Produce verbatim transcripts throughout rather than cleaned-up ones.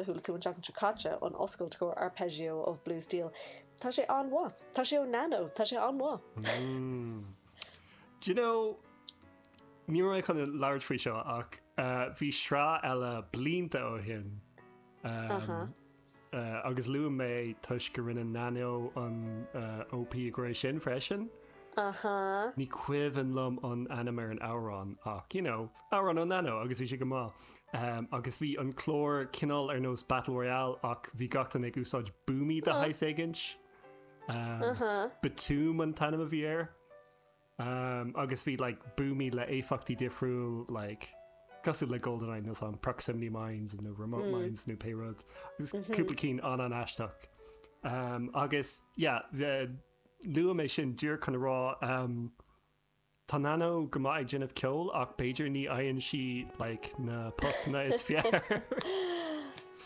a chuala tú an tseachtain seo caite an oscailt go Arpeggio of Blue Steel. Tá sé an-mhaith. Tá sé ó Nano, tá sé an-mhaith. Mm. Do you know ní raibh mé chun labhairt faoi seo ach uh, bhí sraith eile blianta ó shin um, Uh-huh. uh, agus luaigh mé toisc go rinne Nano an uh, OP go raibh sin freisin. Uh-huh. Ní cuimhin liom an ainm ar an amhrán ach you know, amhrán ó Nano agus bhí sé go maith. Um, agus bhí an clár cineál ar nós Battle Royale ach bhí gach duine ag úsáid buamaí de shaghas éigint. Um, Uh-huh. Btooom an t-ainm a bhí air. Um, agus bhí like, buamaí le éifeachtaí difriúil like, cosúil le GoldenEye nó an proximity mines nó remote mm. mines nó pé rud. Agus cúpla cinn an an-aisteach. Um, agus yeah, luaigh mé sin díreach chun a rá um, Tá Nano go maith ag déanamh ceol ach b'fhéidir ní fhaigheann sí like, na postanna is fearr.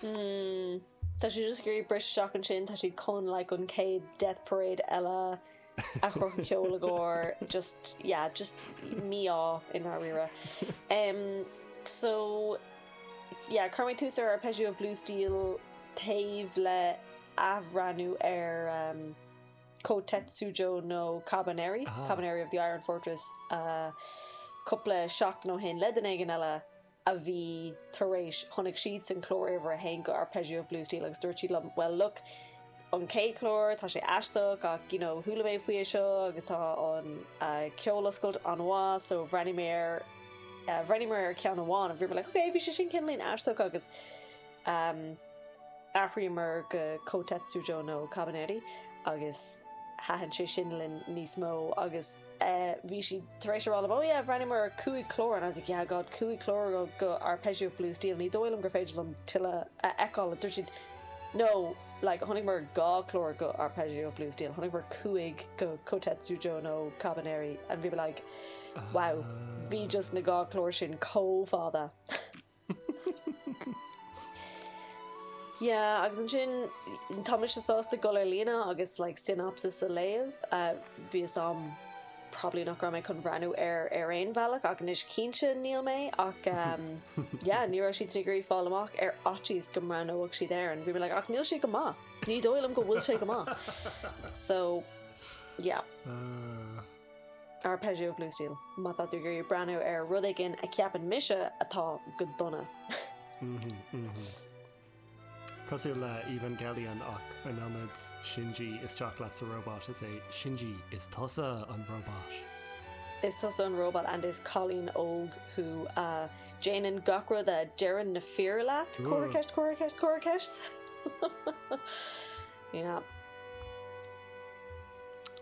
Mm. Tá sé just ag briseadh ansin tá siad chun like an chéad Death Parade eile a chur ceol agóir just yeah just mí-ádh i ndáiríre. Um, so yeah, chuir mé tús ar Arpeggio of Blue Steel taobh le athbhreathnú ar um, Kotetsujo no Kabaneri, Ah. Kabaneri of the Iron Fortress uh, cúpla seachtain ó shin le duine éigin eile a bhí tar éis chonaic siad san clár uimhir a haon go Arpeggio of Blue Steel agus dúirt siad liom well look an chéad chlár tá sé aisteach ach you know chuala mé faoi seo agus tá an uh, ceol-oscailt an-mhaith so bhreathnaigh mé ar uh, bhreathnaigh mé ar ceann amháin bhí mé like okay bhí sé sin cineál aisteach agus um, athraíomar go Kotetsujo no Kabaneri agus thaitin sé sin linn níos mó agus uh, bhí sí tar éis rá oh yeah bhreathnaigh mé ar cúig chlár and I was like yeah god cúig chlár go, go Arpeggio of Blue Steel ní dóigh liom gur féidir liom tuilleadh a fheiceáil dúirt siad no like chonaic mé dhá chlár go Arpeggio of Blue Steel chonaic mé cúig go Kotetsujo no Kabaneri and bhí mé like wow bhí just na dhá chlár sin chomh fada. Yeah, agus ansin tá mise sásta dul ar líne agus like synopsis a léamh uh, bhí am probably nach raibh mé chun breathnú ar ar aon bhealach ach anois cinnte níl mé ach um, yeah, ní raibh siad ag iarraidh fáil amach ar fhaitíos go mbreathnódh siad air and bhí mé like ach níl sé go maith ní dóigh liom go bhfuil sé go maith so yeah Uh, Arpeggio of Blue Steel má tá tú ag iarraidh breathnú ar rud éigin a ceapann mise atá go dona mm -hmm, mm -hmm. Cosúil le Evangelion ach in ionad Shinji isteach leat sa robot is é Shinji is tusa an robot. Is tusa an robot and is cailín óg thú uh, déanann gach rud a deireann na fir leat Cuir ceist cuir ceist cuir ceist yeah.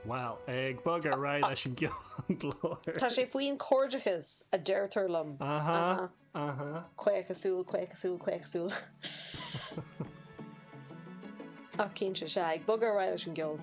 Well, ag bogadh ar aghaidh leis an gclár. Tá sé faoin cairdeachas a deirtear liom. Aha, aha. Caochasúil, caochasúil, caochasúil. Ach cinnte sé ag bogadh ar aghaidh leis an gceol.